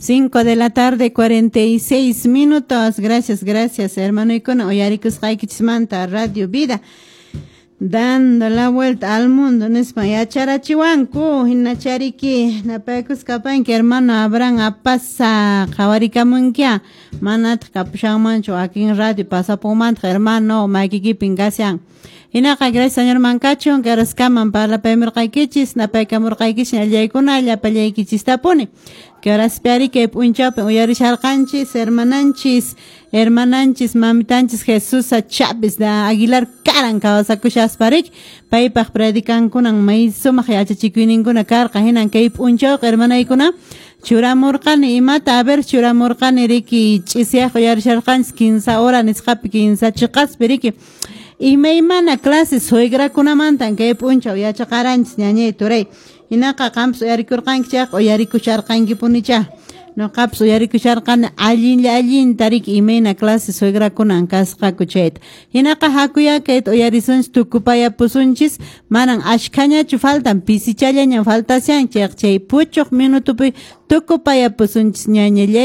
5 de la tarde, 46 minutos. Gracias, gracias, hermanoykuna, uyarikusqaykichismanta Radio Vida. Dando la vuelta al mundo, nispa yacharachiwanku, hinachariki, napaykuskapanki, hermano Abraham Apasa, qhawarikamunkia, manataq kapushanmanchu, akin radio pasapunmantaq, hermano, maykikipin kashan. Hinaqa, gracias Señor mankachun, karaskaman parlapaymirqaykichis, napaykamurqaykichis, allaykuna, llapallaykichistapuni. Que horaspiari kay p'unchawpi uyarisharqanchis, hermananchis, hermananchis, mamitanchis Jesús Chávez de Aguilar karan kawsakushasparik, paypaq predicankunan may sumaq yachachikuyninkuna karqa, hinan kay p'unchawqa hermanaykuna churamurqani, imata a ver churamurqani riki ch'isiyaq uyarisharqanchis 15 hora nisqapi 15 chiqaspi riki. Imaymana clase suegrakunamantan kay p'unchaw yachaqaranchis ñañay turay. Hinaqa qampas uyarikurqanki chayqa uyarikusharqankipunicha. Noqapas uyarikusharqani allinlla allinta riki imayna clase suegrakunan kasqaku chayta. Hinaqa hakuya kayta uyarisunchis tukupayapusunchis, manan ashkhañachu faltan, pisichallañan faltashan chayqa chay puchuq minutupi tukupayapusunchis ñañallay.